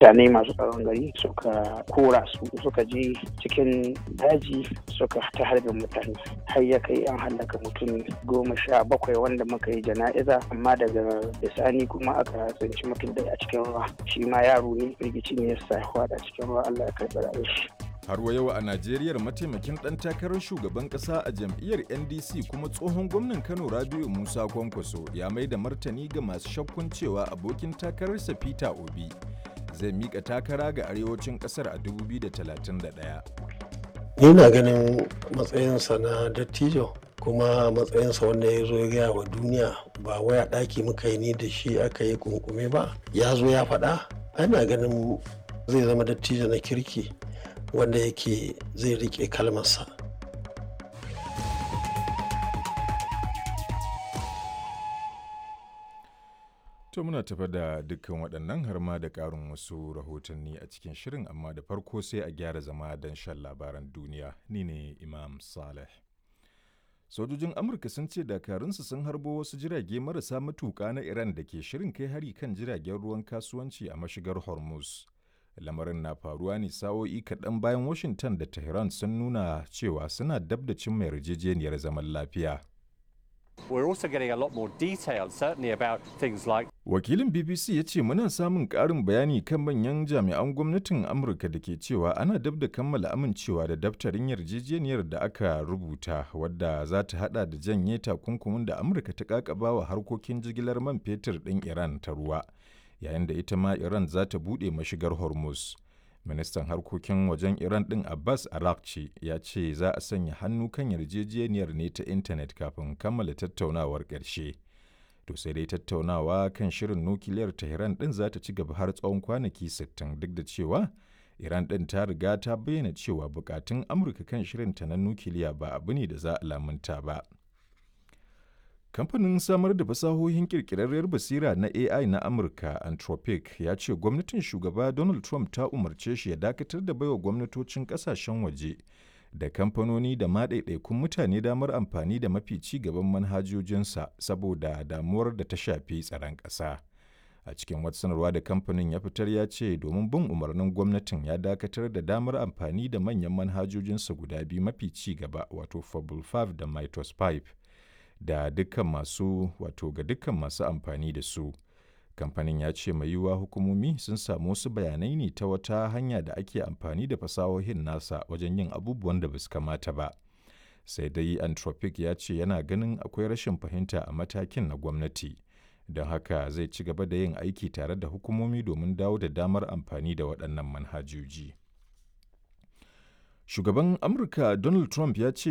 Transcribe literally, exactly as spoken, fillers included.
Mutane masu tsaron gari suka kora su, suka je cikin daji suka ta harbin mutane, har ya kai an hallaka mutum goma sha bakwai wanda muka yi jana'iza. Amma daga bisani kuma aka tsinci mutum da a cikin ruwa, shi ma yaro ne, firgici ne ya sa a cikin ruwa, Allah ya karɓi rayuwar shi. Har wa yau a Najeriya, mataimakin ɗan takarar shugaban ƙasa a jam'iyyar N D C kuma tsohon gwamnan Kano Rabiu Musa Kwankwaso ya mai da martani ga masu shakkun cewa abokin takararsa Peter Obi zai mika takara ga arewacin ƙasar a dubu biyu da talatin da ɗaya. Ni na ganin matsayinsa na dattijo, kuma matsayinsa wanda ya zo ya gaya wa duniya, ba waya ɗaki muka yi ni da shi aka yi kunkume ba, ya zo ya faɗa, ana ganin zai zama dattijo na kirki wanda yake zai rike kalmarsa. To, muna tafa da dukkan waɗannan har ma da ƙarin wasu rahotanni a cikin shirin, amma da farko sai a gyara zama don shan labaran duniya. Ni ne Imam Saleh. Sojojin Amurka sun ce dakarunsu sun harbo wasu jirage marasa matuƙa na Iran da ke shirin kai hari kan jiragen ruwan kasuwanci a mashigar Hormuz. Lamarin na faruwa ne sa'o'i kaɗan bayan Washington da Tehran sun nuna cewa suna dab da cimma yarjejeniyar zaman lafiya. We're also getting a lot more detail, certainly about things like Wakilin B B C ya ce muna samun ƙarin bayani kan manyan jami'an gwamnatin Amurka da ke cewa ana dab da kammala amincewa da daftarin yarjejeniyar da aka rubuta, wadda za ta hada da janye takunkumin da Amurka ta kakaba wa harkokin jigilar man fetur ɗin Iran ta ruwa, yayin da ita ma Iran za ta buɗe mashigar Hormuz. Ministan harkokin wajen Iran ɗin Abbas Araghchi ya ce za a sanya hannu kan yarjejeniyar ne ta intanet kafin kammala tattaunawar ƙarshe. To sai dai tattaunawa kan shirin nukiliyar Tehran ɗin za ta ci gaba har tsawon kwanaki sittin, duk da cewa Iran ɗin ta riga ta bayyana cewa bukatun Amurka kan shirinta na nukiliya ba abu ne da za a lamunta ba. Kamfanin samar da fasahohin ƙirƙirarriyar basira na A I na Amurka, Anthropic, ya ce gwamnatin shugaba Donald Trump ta umarce shi ya dakatar da baiwa gwamnatocin ƙasashen waje da kamfanoni da ma ɗaiɗaikun mutane damar amfani da mafi ci gaban manhajojinsa saboda damuwar da ta shafi tsaron ƙasa. A cikin wata sanarwa da kamfanin ya fitar, ya ce domin bin umarnin gwamnatin ya dakatar da damar amfani da manyan manhajojinsa guda biyu mafi ci gaba, wato Fable biyar da Mythos biyar, da dukkan masu wato ga dukkan masu amfani da su. Kamfanin ya ce mai yiwuwa hukumomi sun samu wasu bayanai ne ta wata hanya da ake amfani da fasahohin nasa wajen yin abubuwan da basu kamata ba. Sai dai Anthropic ya ce yana ganin akwai rashin fahimta a matakin na gwamnati, don haka zai ci gaba da yin aiki tare da hukumomi domin dawo da damar amfani da waɗannan manhajoji. Shugaban Amurka Donald Trump ya ce